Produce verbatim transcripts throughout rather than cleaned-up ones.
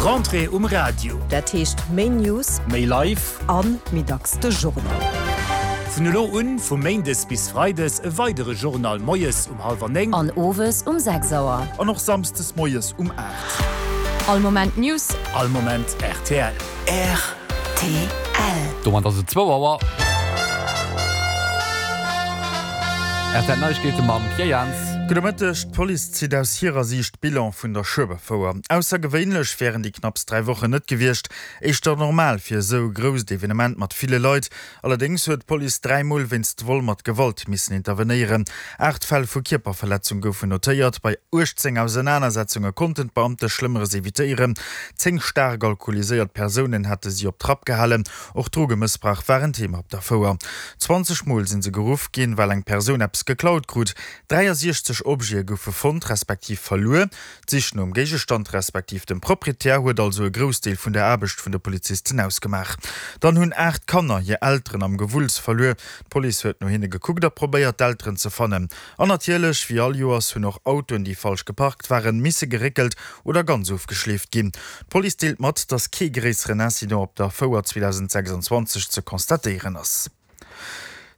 Rentrée um Radio. Dat heescht méi News, Méi live. An méi dacks de Journal. Vun elo un, vu méindes bis freides, e weidere Journal moies um hallwer néng. An owes um sechs Auer. An och samsdes moies um aacht. All Moment News. All Moment rtl. Rtl. Domat ass et zwou Auer. Rtl Neiegkeete mam Pierre Jans. Gudde Mëtteg, D'Police zitt aus hirer Siicht Bilan vun der Schueberfouer. Aussergewéinlech wären déi knapps dräi Wochen net gewiescht, éischter normal fir esou e grousst Evenement mat ville Leit. Allerdéngs huet d'Police dräi Mol wéinst Vol mat Gewalt missen intervenéieren. Aacht Fäll vu Kierperverletzung goufen notéiert, bei uechtzéng Ausenanersetzunge konnten d'Beamte Schlëmmeres evitéieren. Zéng staark alkoholiséiert Persounen hate si op Trapp gehalen. Och Drogemëssbrauch war en Thema op der Fouer. Zwanzeg Mol si se geruff ginn, well eng Persoun eppes geklaut krut. dräiasechzeg Objete goufe fonnt respektiv verluer. D'Sich nom Géigestand respektiv dem Proprietär huet also e Groussdeel vun der Aarbecht vun de Polizisten ausgemaach. Dann hunn aacht Kanner hir Elteren am Gewulls verluer. D'Police huet no hinne gekuckt a probéiert, d'Elteren ze fannen. An natierlech, wéi all Joers, hunn och Autoen, déi falsch geparkt waren, misse geréckelt oder ganz ofgeschleeft ginn. D'Police deelt mat, dass kee gréisseren Incident op der Fouer zweedausendsechsundzwanzeg ze constatéieren ass.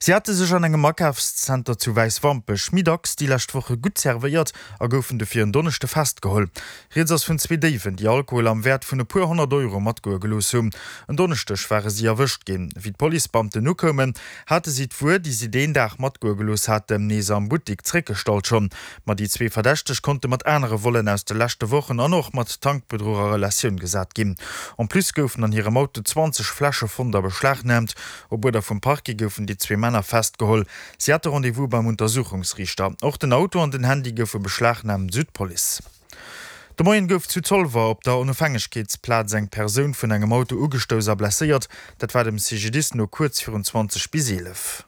Si hate sech an engem Akafszenter zu Wäiswampech méi dacks déi lescht Woche gutt zerwéiert a goufen dofir en Donneschde festgeholl. Rieds ass vun zwee Déiwen, déi Alkohol am Wäert vun e puer honnert Euro matgoe gelooss hunn. En Donneschdeg ware si erwëscht ginn. Wéi d'Policebeamten ukoumen, hate si d'Wuer, déi si deen Dag matgoe gelooss haten, nees am Buttik zréckgestallt schonn. Ma déi zwee Verdächteg konnte mat anere Vollen aus de leschte Wochen an och mat Tankbedruch a Relatioun gesat ginn. En plus goufen an hirem Auto zwanzeg Fläsche fonnt a beschlagnaamt. Op Uerder vum Parquet goufen déi zwee Männer festgeholl. Si hate Rendez-vous beim Untersuchungsriichter. Och den Auto an den Handy goufe beschlagnaamt, sou d'Police. De Moien gouf zu Zolwer op der Onofhängegkeetsplaz eng Persoun vun engem Auto ugestouss a blesséiert. Dat war dem C G D I S no kuerz virun zwanzeg bis eelef.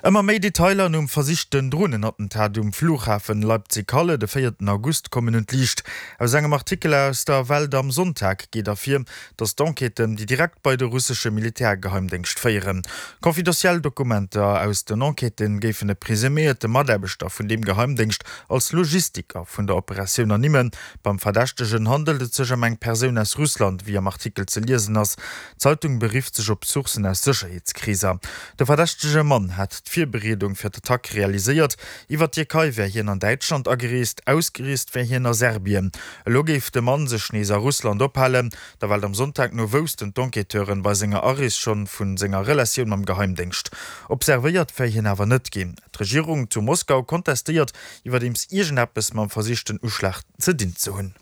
Ëmmer méi Detailer nom versichten Dronenattentat um Flughafen Leipzig-Halle de véierten August kommen un d'Liicht. Aus engem Artikel aus der Welt am Sonntag geet ervir, datt d'Enquêten, déi direkt bei de russesche Militärgeheimdéngscht féieren. Confidentiel Dokumenter aus den Enquêtë géifen e presuméierte Mataarbechter vun deem Geheimdéngscht als Logistiker vun der Operatioun ernimmen. Beim Verdächtegen handelt et sech ëm eng Persoun aus Russland, wéi am Artikel ze liesen ass. D'Zeitung berifft sech op Sourcen aus Sécherheetskreeser. De verdächtege Mann hätt d'Virbereedung fir d'Attack realiséiert. Iwwer d'Tierkei wär hien an Däitschland agereest, ausgereest wär hien a Serbien. Elo géif de Mann sech nees a Russland ophalen. Der Welt am Sonntag no woussten d'Enquêteuren bei senger Arees schonn vu senger Relatioun mam Geheimdéngscht. Observéiert wär hien awer net ginn. D'Regierung zu Moskau kontestéiert iwwerdeems iergendeppes mam versichten Uschlag ze dinn ze hunn.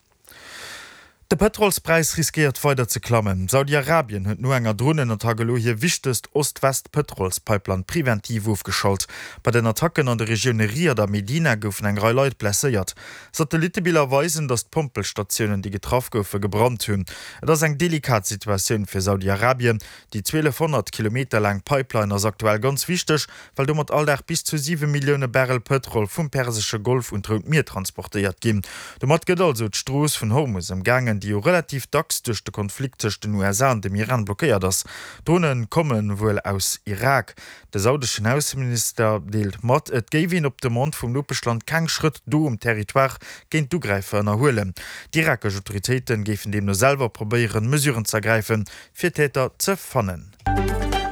De Pëtrolspräis riskéiert weider ze klammen. Saudi-Arabien huet no enger Dronenattack elo hir wichtegst Ost-West-Pëtrolspipeline preventiv ofgeschalt. Bei den Attacken an de Regioune Riad a Medina goufen eng Rei Leit blesséiert. Satellittebiller weisen, datt d'Pompelstatiounen, déi getraff goufen, gebrannt hunn. Et ass eng delikat Situatioun fir Saudi-Arabien. Déi zwielefhonnert Kilometer laang Pipeline ass aktuell ganz wichteg, well domat all Dag bis zu siwe Millioune Barrel Pëtrol vum Persesche Golf un d'Rout Mier transportéiert ginn. Domat gëtt also d'Strooss vun Hormus ëmgaangen, déi jo relativ dacks duerch de Konflikt tëscht den U S A an dem Iran blockéiert ass. D'Drone komme wuel aus Irak. De saudeschen Ausseminister deelt mat, et géif een op Demande vum Nopeschland keng Schrëtt do um Territoire géint d'Ugräifer ënnerhuelen. D'irakesch Autoritéite géifen deemno selwer probéieren, Mesuren z'ergräifen, fir d'Täter ze fannen.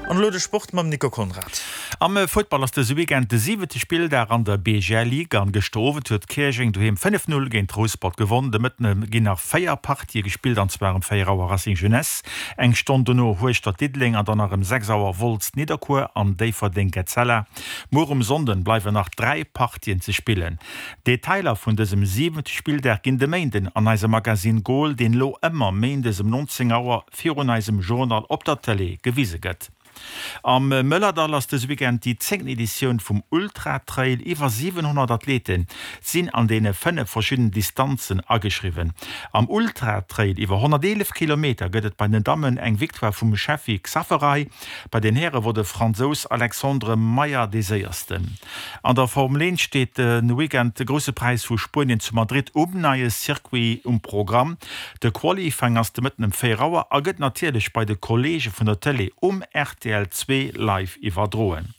An elo de Sport mam Nico Conrad. Am Futtball ass dëse Weekend de siwente Spilldag an der B G L Ligue an gëschter Owend huet Käerjeng doheem fënnef Null géint Rouspert gewonn. De Mëtten ginn nach véier Partië gespillt an zwar ëm véier Auer Racing Jeunesse, eng Stonn dono Hueschtert Diddeleng an dann nach ëm sechs Auer Wolz Nidderkuer an Déifferdeng Etzella. Muer um Sonnden bleiwen nach dräi Partien ze spillen. Detailer vun dësem siwente Spilldag ginn de Méinden an eisem Magazine Goal, deen elo ëmmer méindes ëm nonzéng Auer virun eisem Journal op der Tëlee gewise gëtt. Am Mëllerdall ass dëse Weekend déi zéngten Editioun vum Ultra-Trail. Iwwer siwenhonnert Athlete sinn an deene fënnef verschiddenen Distanzen ageschriwwen. Am Ultra-Trail iwwer honnerteelef Kilometer gëtt et bei den Dammen eng Victoire vum Sheffi Xaferaj. Bei den Häre wor de Fransous Alexandre Meyer dee Séiersten. An der Formel eent steet de Weekend de Grousse Präis vu Spuenien zu Madrid um neie Circuit um Programm. De Qualifying ass de Mëtten ëm véier Auer a gëtt natierlech bei de Kolleege vun der Tëlee um R T L zwee live iwwerdroen.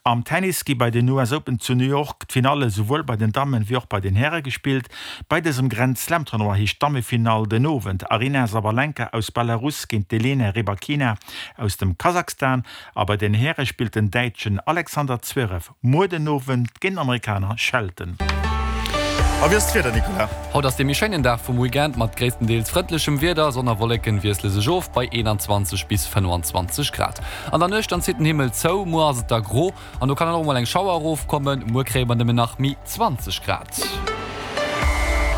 Am Tennis gi bei den US Open zu New York d'Finalle souwuel bei den Dammen wéi och bei den Häre gespillt. Bei dësem Grand Slam Tournoi heescht d'Dammefinall den Owend Aryna Sabalenka aus Belarus géint d'Elena Rybakina aus dem Kasachstan a bei den Häre spillt den Däitschen Alexander Zverev muer den Owend géint den Amerikaner Shelton. A wéi ass d'Wieder, Nicolas? Haut ass dee méi schéinen Dag vum Weekend mat gréisstendeels frëndlechem Wieder. Sonn a Wolleken wiessle sech of bei eenanzwanzeg bis fënnwanzwanzeg Grad. An der Nuecht dann zitt den Himmel zou, muer ass et da gro an do kann dann och mol eng Schauer erofkommen. Muer kréie mer nëmmen nach méi zwanzeg Grad.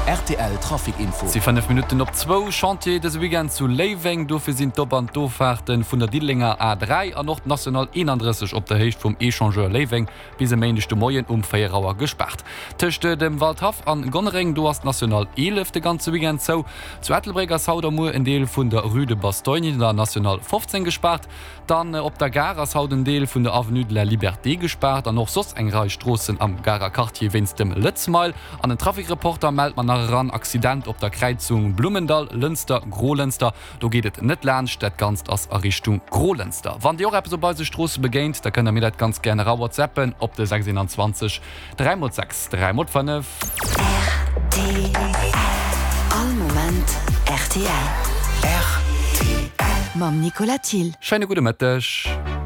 Rtl Trafic Info. Et si fënnef Minutten op zwou. Chantier dëse Weekend zu Léiweng. Dofir sinn d'Op an d'Offahrte vun der Diddelenger A dräi an och d'National eenandrësseg op der Héicht vum Echangeur Léiweng bis e Méindeg de Moien um véier Auer gespaart. Tëscht dem Waldhaff an Gonnereng, do ass d'National eelef de ganze Weekend zou. Zu Ettelbréck ass haut a muer en Deel vun der Rue de Bastogne, der National fofzéng gespaart. Dann op der Gare ass haut en Deel vun der Avenue de la Liberté gespaart an och soss eng Rei Stroossen am Garer Quartier wéinst dem Lëtzmile. An den Trafic-Reporter mellt mer nach eran, Accident op der Kräizung Blummendall, Lënster, Grolënster. Do geet et net laanscht, dat Ganzt ass a Richtung Grolënster. Wann Dir och eppes op eise Stroosse begéint, da kënnt der mir dat ganz gär era whatsappen op de sechs eenanzwanzeg dräi mol sechs dräi mol fënnef. Rtl, All Moment rtl. Rtl. Mam Nicolas Thill. Schéine gudde Mëtteg.